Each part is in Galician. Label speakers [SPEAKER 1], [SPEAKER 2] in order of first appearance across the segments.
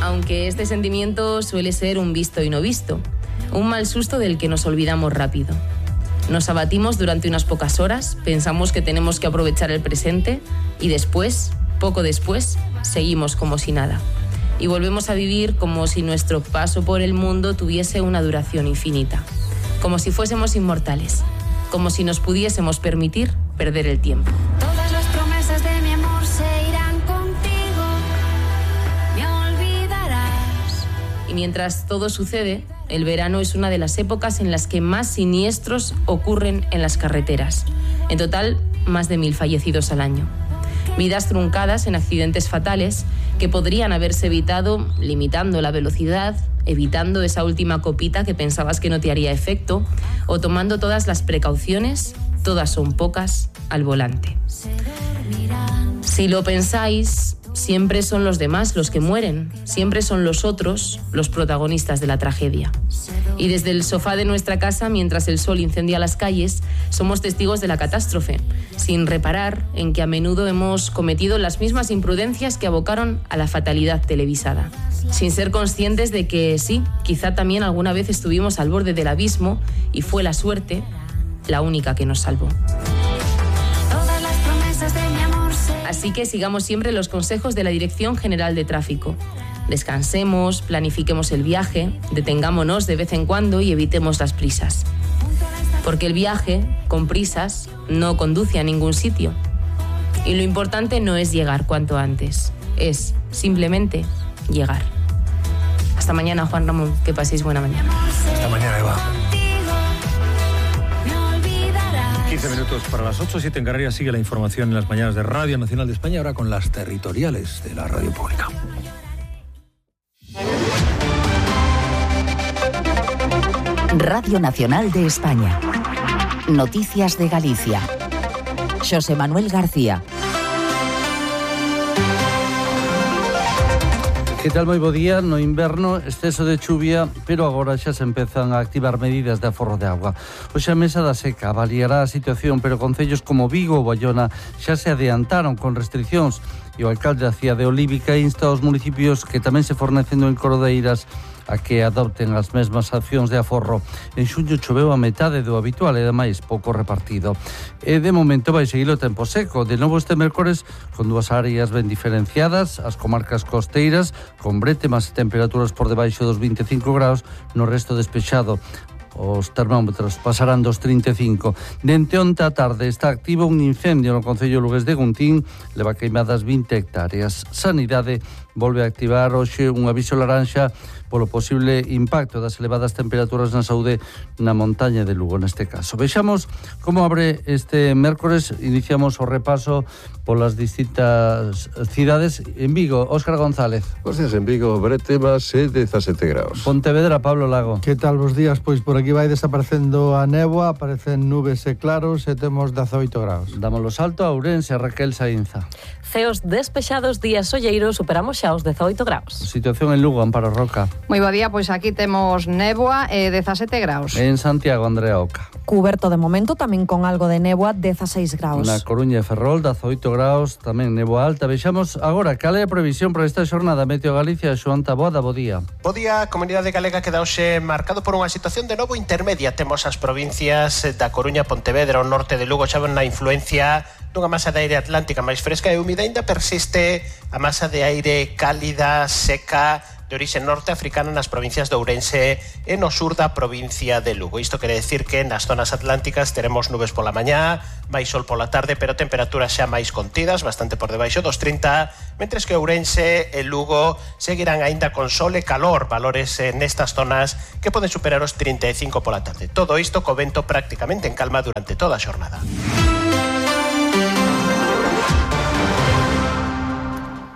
[SPEAKER 1] Aunque este sentimiento suele ser un visto y no visto, un mal susto del que nos olvidamos rápido. Nos abatimos durante unas pocas horas, pensamos que tenemos que aprovechar el presente y después, poco después, seguimos como si nada. Y volvemos a vivir como si nuestro paso por el mundo tuviese una duración infinita. Como si fuésemos inmortales. Como si nos pudiésemos permitir perder el tiempo.
[SPEAKER 2] Todas las promesas de mi amor se irán contigo. Me olvidarás.
[SPEAKER 1] Y mientras todo sucede, el verano es una de las épocas en las que más siniestros ocurren en las carreteras. En total, más de 1000 fallecidos al año. Vidas truncadas en accidentes fatales que podrían haberse evitado limitando la velocidad, evitando esa última copita que pensabas que no te haría efecto, o tomando todas las precauciones, todas son pocas, al volante. Si lo pensáis, siempre son los demás los que mueren, siempre son los otros los protagonistas de la tragedia. Y desde el sofá de nuestra casa, mientras el sol incendia las calles, somos testigos de la catástrofe, sin reparar en que a menudo hemos cometido las mismas imprudencias que abocaron a la fatalidad televisada. Sin ser conscientes de que sí, quizá también alguna vez estuvimos al borde del abismo y fue la suerte la única que nos salvó.
[SPEAKER 2] Todas las promesas de mi amor se...
[SPEAKER 1] Así que sigamos siempre los consejos de la Dirección General de Tráfico. Descansemos, planifiquemos el viaje, detengámonos de vez en cuando y evitemos las prisas. Porque el viaje, con prisas, no conduce a ningún sitio. Y lo importante no es llegar cuanto antes, es simplemente llegar. Hasta mañana, Juan Ramón, que paséis buena mañana.
[SPEAKER 3] Hasta mañana, Eva. 15
[SPEAKER 2] 15
[SPEAKER 3] minutos para las 8, 7 en Canarias. Sigue la información en las mañanas de Radio Nacional de España, ahora con las territoriales de la radio pública.
[SPEAKER 4] Radio Nacional de España. Noticias de Galicia. Xosé Manuel García.
[SPEAKER 5] Que tal, moi bo día? No inverno, exceso de chuvia, pero agora xa se empezan a activar medidas de aforro de agua. Hoxe a Mesa da Seca avaliará a situación, pero concellos como Vigo ou Baiona xa se adiantaron con restriccións e o alcalde da cidade de Olívica insta aos municipios que tamén se fornecendo en Cordeiras a que adopten as mesmas accións de aforro. En xuño choveu a metade do habitual e ademais pouco repartido. E de momento vai seguir o tempo seco. De novo este mércores con dúas áreas ben diferenciadas, as comarcas costeiras con brétemas e temperaturas por debaixo dos 25 graus, no resto despexado. Os termómetros pasarán dos 35. Dente onte a tarde está activo un incendio no concello lugués de Guntín, leva queimadas 20 hectáreas. Sanidade volve a activar hoxe un aviso laranxa polo posible impacto das elevadas temperaturas na saúde na montaña de Lugo neste caso. Vexamos como abre este mércores. Iniciamos o repaso polas distintas cidades. En Vigo, Óscar González.
[SPEAKER 6] Bos días en Vigo, brétemas e 17 graus.
[SPEAKER 5] Pontevedra, Pablo Lago.
[SPEAKER 7] Que tal, bos días? Pois por aquí vai desaparecendo a néboa, aparecen nubes e claros e temos 18 graus.
[SPEAKER 5] Dámoslo salto a Ourense, Raquel Sainza.
[SPEAKER 8] Ceos despexados, días solleiros, superamos xa os 18 graus.
[SPEAKER 5] Situación en Lugo, Amparo Roca.
[SPEAKER 9] Moi bo día, pois aquí temos néboa e 17 graus.
[SPEAKER 5] En Santiago, Andrea Oca.
[SPEAKER 10] Cuberto de momento, tamén con algo de néboa, 16 graus.
[SPEAKER 5] Na Coruña e Ferrol, 18 graus, tamén néboa alta. Vexamos agora cal é a previsión para esta xornada. Meteo Galicia, Xoán Taboada, bo día.
[SPEAKER 11] Bo día, a comunidade galega queda hoxe marcado por unha situación de novo intermedia. Temos as provincias da Coruña, Pontevedra, o norte de Lugo, xa ven na influencia dunha masa de aire atlántica máis fresca e húmida. Ainda persiste a masa de aire cálida, seca, de orixe norteafricana nas provincias de Ourense e no sur da provincia de Lugo. Isto quere decir que nas zonas atlánticas teremos nubes pola mañá, máis sol pola tarde, pero temperaturas xa máis contidas, bastante por debaixo dos 30, mentres que Ourense e Lugo seguirán aínda con sol e calor, valores nestas zonas que poden superar os 35 pola tarde. Todo isto co vento prácticamente en calma durante toda a xornada.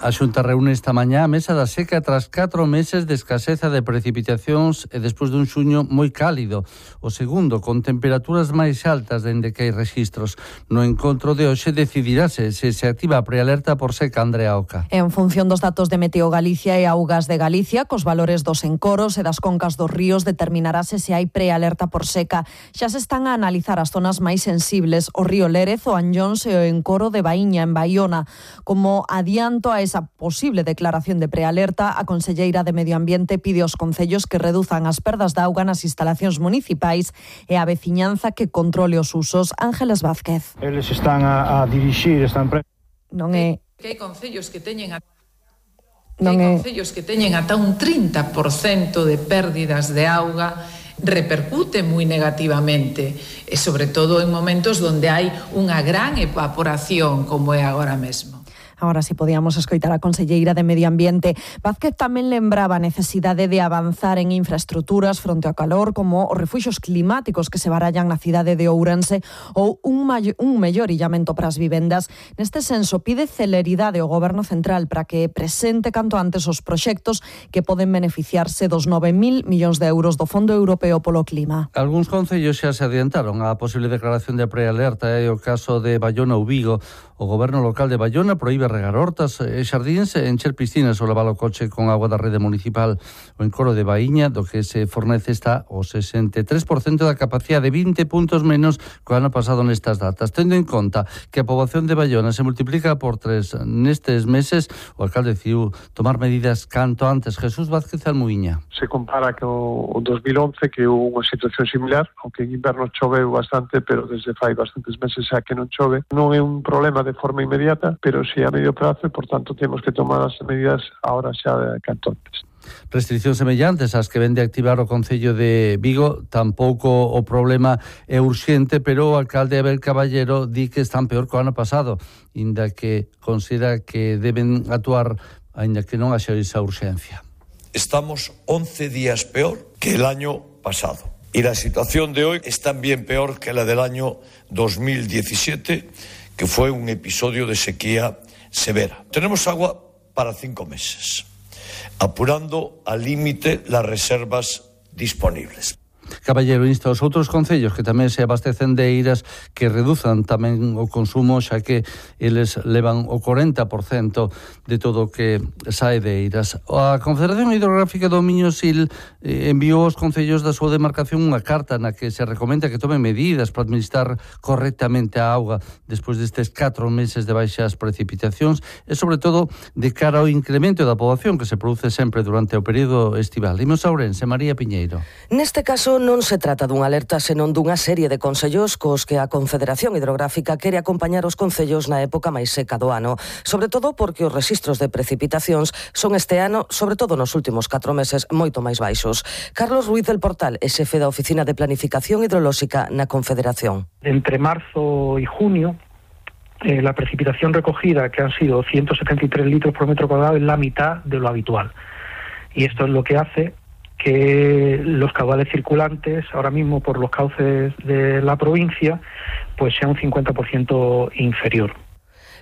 [SPEAKER 5] A Xunta reúne esta mañá a Mesa da Seca tras 4 meses de escaseza de precipitacións e despois dun xuño moi cálido. O segundo, con temperaturas máis altas dende que hai rexistros. No encontro de hoxe decidirase se se activa a prealerta por seca, Andrea Oca.
[SPEAKER 10] En función dos datos de Meteo Galicia e Augas de Galicia, cos valores dos encoros e das concas dos ríos, determinarase se hai prealerta por seca. Xa se están a analizar as zonas máis sensibles, o río Lérez, o Anllóns e o encoro de Baíña, en Baiona. Como adianto a esa esa posible declaración de prealerta, a conselleira de Medio Ambiente pide aos concellos que reduzan as perdas de auga nas instalacións municipais e a veciñanza que controle os usos. Ángeles Vázquez.
[SPEAKER 12] Eles están a dirixir esta empresa.
[SPEAKER 10] Non é...
[SPEAKER 13] Que hai concellos que teñen concellos que teñen ata un 30% de pérdidas de auga, repercute moi negativamente, e sobre todo en momentos onde hai unha gran evaporación como é agora mesmo.
[SPEAKER 10] Agora si podíamos escoitar a conselleira de Medio Ambiente. Vázquez tamén lembraba a necesidade de avanzar en infraestruturas fronte ao calor, como os refuxios climáticos que se barallan na cidade de Ourense ou un mellor illamento para as vivendas. Neste senso, pide celeridade ao Goberno Central para que presente canto antes os proxectos que poden beneficiarse dos 9.000 millóns de euros do Fondo Europeo polo Clima.
[SPEAKER 5] Algúns concellos xa se adiantaron a posible declaración de prealerta, o caso de Bayona ou Vigo. O Goberno local de Bayona proíbe regar hortas e xardíns e encher piscinas ou lavar o coche con agua da rede municipal. O encoro de Baíña, do que se fornece, está o 63% da capacidade, 20 puntos menos que o ano pasado nestas datas. Tendo en conta que a poboación de Bayona se multiplica por 3 nestes meses, o alcalde decidiu tomar medidas canto antes. Jesús Vázquez Almuíña.
[SPEAKER 14] Se compara co 2011, que houve unha situación similar, aunque en inverno choveu bastante, pero desde fai bastantes meses xa que non chove. Non é un problema de forma inmediata, pero si a medio prazo, e, por tanto, temos que tomar as medidas ahora xa de canto antes.
[SPEAKER 5] Restriccións semellantes ás que vende activar o Concello de Vigo. Tampouco o problema é urxente, pero o alcalde Abel Caballero di que están peor que o ano pasado, inda que considera que deben actuar aínda que non haxa esa urxencia.
[SPEAKER 15] Estamos 11 días peor que el año pasado. Y la situación de hoy es también peor que la del año 2017, que fue un episodio de sequía severa. Tenemos agua para 5 meses, apurando al límite las reservas disponibles.
[SPEAKER 5] Caballero insta aos outros concellos que tamén se abastecen de eiras que reduzan tamén o consumo, xa que eles levan o 40% de todo o que sae de eiras. A Confederación Hidrográfica do Miño-Sil enviou aos concellos da súa demarcación unha carta na que se recomenda que tomen medidas para administrar correctamente a auga despois destes 4 meses de baixas precipitacións e, sobre todo, de cara ao incremento da poboación que se produce sempre durante o período estival. Imos a Ourense, María Piñeiro.
[SPEAKER 16] Neste caso non se trata dunha alerta, senón dunha serie de consellos cos que a Confederación Hidrográfica quere acompañar os concellos na época máis seca do ano, sobre todo porque os rexistros de precipitacións son este ano, sobre todo nos últimos 4 meses, moito máis baixos. Carlos Ruiz del Portal é xefe da Oficina de Planificación Hidrolóxica na Confederación.
[SPEAKER 17] Entre marzo y junio, la precipitación recogida, que han sido 173 litros por metro cuadrado, es la mitad de lo habitual. Y esto es lo que hace que los caudales circulantes, ahora mismo por los cauces de la provincia, pues sea un 50% inferior.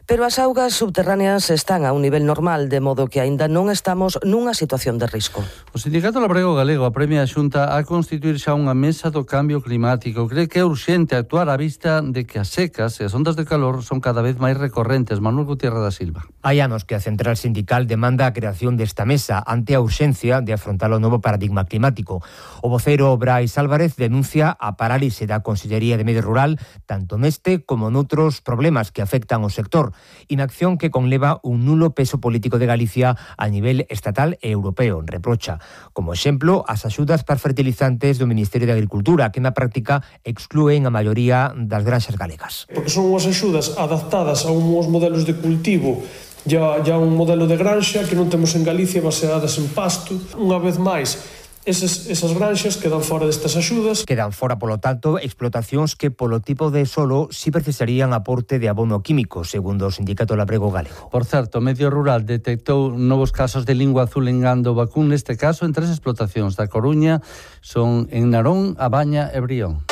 [SPEAKER 16] Pero as augas subterráneas están a un nivel normal, de modo que aínda non estamos nunha situación de risco.
[SPEAKER 5] O Sindicato Labrego Galego apremia a Xunta a constituir xa unha mesa do cambio climático. Cree que é urxente actuar á vista de que as secas e as ondas de calor son cada vez máis recorrentes. Manuel Gutiérrez da Silva.
[SPEAKER 18] Hai anos que a central sindical demanda a creación desta mesa ante a urxencia de afrontar o novo paradigma climático. O voceiro Brais Álvarez denuncia a parálise da Consellería de Medio Rural tanto neste como noutros problemas que afectan ao sector. Inacción que conleva un nulo peso político de Galicia a nivel estatal e europeo, reprocha. Como exemplo, as axudas para fertilizantes do Ministerio de Agricultura, que na práctica exclúen a maioría das granxas galegas.
[SPEAKER 19] Porque son unhas axudas adaptadas a uns modelos de cultivo ya un modelo de granxa que non temos en Galicia, baseadas en pasto. Unha vez máis, esas granxas quedan fora destas axudas.
[SPEAKER 18] Quedan fora, polo tanto, explotacións que polo tipo de solo si precisarían aporte de abono químico, segundo o Sindicato Labrego Galego.
[SPEAKER 5] Por certo, Medio Rural detectou novos casos de lingua azul en gando vacún, neste caso en 3 explotacións da Coruña, son en Narón, A Baña e Brión.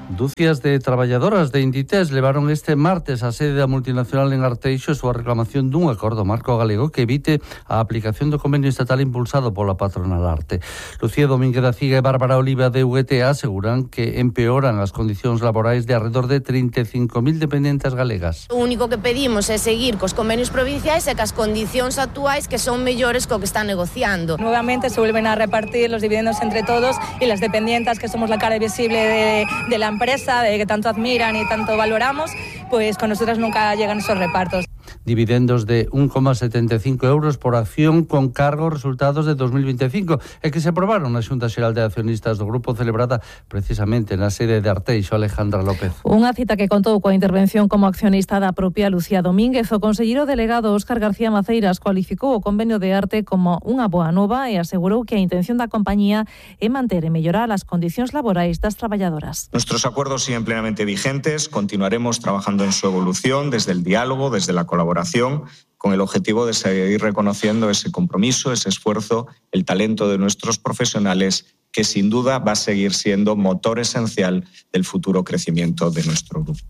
[SPEAKER 5] Dúcias de traballadoras de Inditex levaron este martes a sede da multinacional en Arteixo a súa reclamación dun acordo marco galego que evite a aplicación do convenio estatal impulsado pola patronal Arte. Lucía Domínguez da Ciga e Bárbara Oliva de UGT aseguran que empeoran as condicións laborais de arredor de 35.000 dependentes galegas.
[SPEAKER 20] O único que pedimos é seguir cos convenios provinciais e cas condicións actuais que son mellores co que están negociando.
[SPEAKER 21] Nuevamente se vuelven a repartir los dividendos entre todos y las dependientes, que somos la cara visible de la empresa, de que tanto admiran y tanto valoramos, pues con nosotras nunca llegan esos repartos.
[SPEAKER 5] dividendos de 1,75 euros por acción con cargo aos resultados de 2025 e que se aprobaron na Xunta Xeral de Accionistas do Grupo celebrada precisamente na sede de Arteixo. Alejandra López.
[SPEAKER 8] Unha cita que contou coa intervención como accionista da propia Lucía Domínguez. O conselleiro delegado Óscar García Maceiras cualificou o convenio de arte como unha boa nova e asegurou que a intención da compañía é manter e mellorar as condicións laborais das traballadoras.
[SPEAKER 1] Nuestros acuerdos siguen plenamente vigentes, continuaremos trabajando en su evolución desde el diálogo, desde la colaboración, con el objetivo de seguir reconociendo ese compromiso, ese esfuerzo, el talento de nuestros profesionales, que sin duda va a seguir siendo motor esencial del futuro crecimiento de nuestro grupo.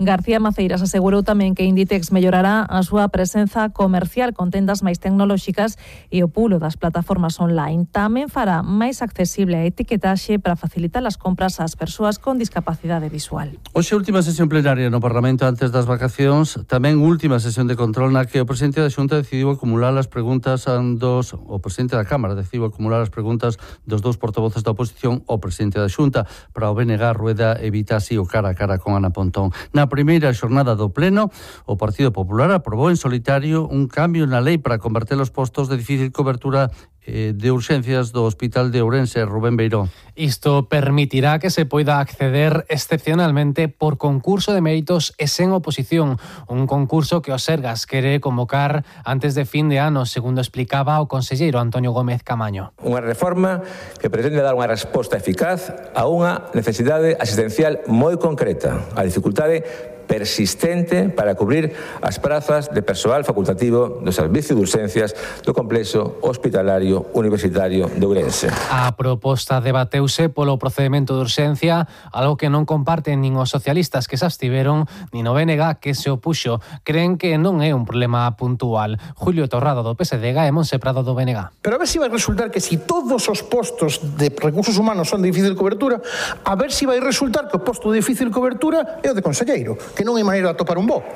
[SPEAKER 8] García Maceiras asegurou tamén que Inditex mellorará a súa presenza comercial con tendas máis tecnolóxicas e o pulo das plataformas online. Tamén fará máis accesible a etiquetaxe para facilitar as compras ás persoas con discapacidade visual.
[SPEAKER 5] Hoxe última sesión plenaria no Parlamento antes das vacacións, tamén última sesión de control na que o presidente da Xunta decidiu acumular as preguntas o presidente da Cámara decidiu acumular as preguntas dos dous portavoces da oposición ao presidente da Xunta. Para o BNG, Rueda evita así o cara a cara con Ana Pontón. Na primeira xornada do Pleno, o Partido Popular aprobou en solitario un cambio na lei para converter os postos de difícil cobertura de urxencias do Hospital de Ourense. Rubén Beiró.
[SPEAKER 22] Isto permitirá que se poida acceder excepcionalmente por concurso de méritos e sen oposición, un concurso que o Sergas quere convocar antes de fin de ano, segundo explicaba o conselleiro Antonio Gómez Camaño.
[SPEAKER 23] Unha reforma que pretende dar unha resposta eficaz a unha necesidade asistencial moi concreta, a dificultade persistente para cubrir as prazas de persoal facultativo do Servicio de Urxencias do Complexo Hospitalario Universitario de Ourense.
[SPEAKER 22] A proposta debateuse polo procedimento de urxencia, algo que non comparten nin os socialistas que se abstiveron, nin o BNG que se opuxo. Creen que non é un problema puntual. Julio Torrado do PSD e Monse Prado do BNG.
[SPEAKER 24] Pero a ver si vai resultar que si todos os postos de recursos humanos son de difícil cobertura, a ver si vai resultar que o posto de difícil cobertura é o de conselleiro, que non hai maneira de atopar un bo.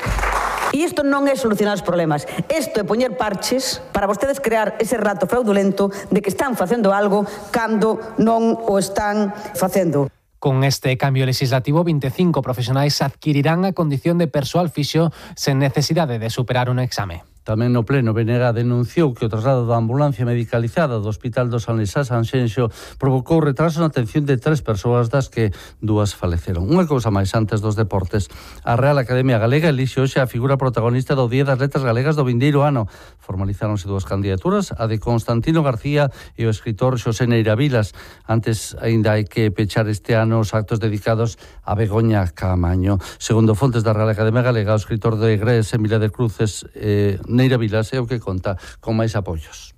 [SPEAKER 25] E isto non é solucionar os problemas. Isto é poñer parches para vostedes crear ese rato fraudulento de que están facendo algo cando non o están facendo.
[SPEAKER 22] Con este cambio legislativo, 25 profesionais adquirirán a condición de persoal fixo sen necesidade de superar un exame.
[SPEAKER 5] Tamén no pleno, BNG denunciou que o traslado da ambulancia medicalizada do Hospital do San Lesá Sanxenxo provocou retraso na atención de 3 persoas, das que 2 faleceron. Unha cousa máis antes dos deportes. A Real Academia Galega elixe hoxe a figura protagonista do Día das Letras Galegas do vindeiro ano. Formalizáronse 2 candidaturas, a de Constantino García e o escritor Xosé Neira Vilas. Antes, aínda hai que pechar este ano os actos dedicados a Begoña Caamaño. Segundo fontes da Real Academia Galega, o escritor de Egrés, Emilia de Cruces, Neira Vilas é o que conta con máis apoios.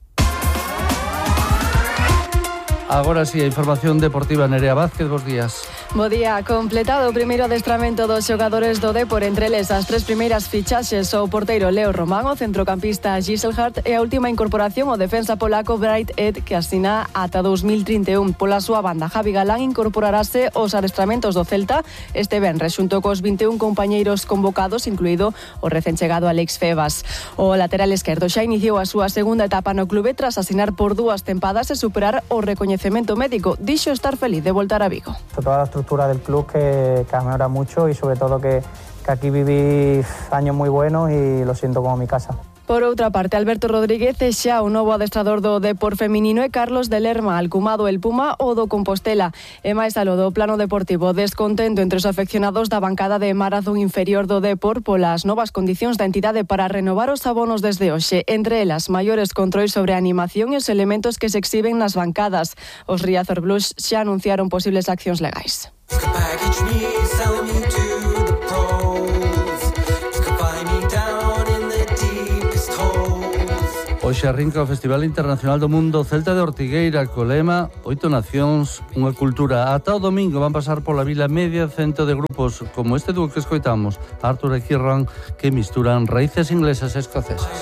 [SPEAKER 5] Agora sí, a información deportiva. Nerea Vázquez, bos días.
[SPEAKER 26] Bo día, completado o primeiro adestramento dos xogadores do Depor, entre eles as 3 primeiras fichaxes, o porteiro Leo Román, o centrocampista Giselhardt e a última incorporación o defensa polaco Bright Ed, que asina ata 2031. Pola súa banda, Javi Galán incorporarase aos adestramentos do Celta este venres xunto cos 21 compañeiros convocados, incluído o recén chegado Alex Febas. O lateral esquerdo xa iniciou a súa segunda etapa no clube tras asinar por 2 tempadas e superar o recoñecemento médico. Dixo estar feliz de voltar a Vigo.
[SPEAKER 27] Toda la estructura del club que mejora mucho y sobre todo que aquí viví años muy buenos y lo siento como mi casa.
[SPEAKER 26] Por outra parte, Alberto Rodríguez é xa o novo adestrador do Depor feminino e Carlos de Lerma, alcumado el Puma o do Compostela. E máis aló do plano deportivo, descontento entre os afeccionados da bancada de maratón inferior do Depor polas novas condicións da entidade para renovar os abonos desde hoxe. Entre elas, maiores controis sobre a animación e os elementos que se exhiben nas bancadas. Os Riazor Blues xa anunciaron posibles accións legais.
[SPEAKER 5] Hoxe arrinca o Festival Internacional do Mundo Celta de Ortigueira, co lema 8 nacións, unha cultura. Ata o domingo van pasar pola vila media cento de grupos como este dúo que escoitamos, Arthur e Kieran, que misturan raíces inglesas e escocesas.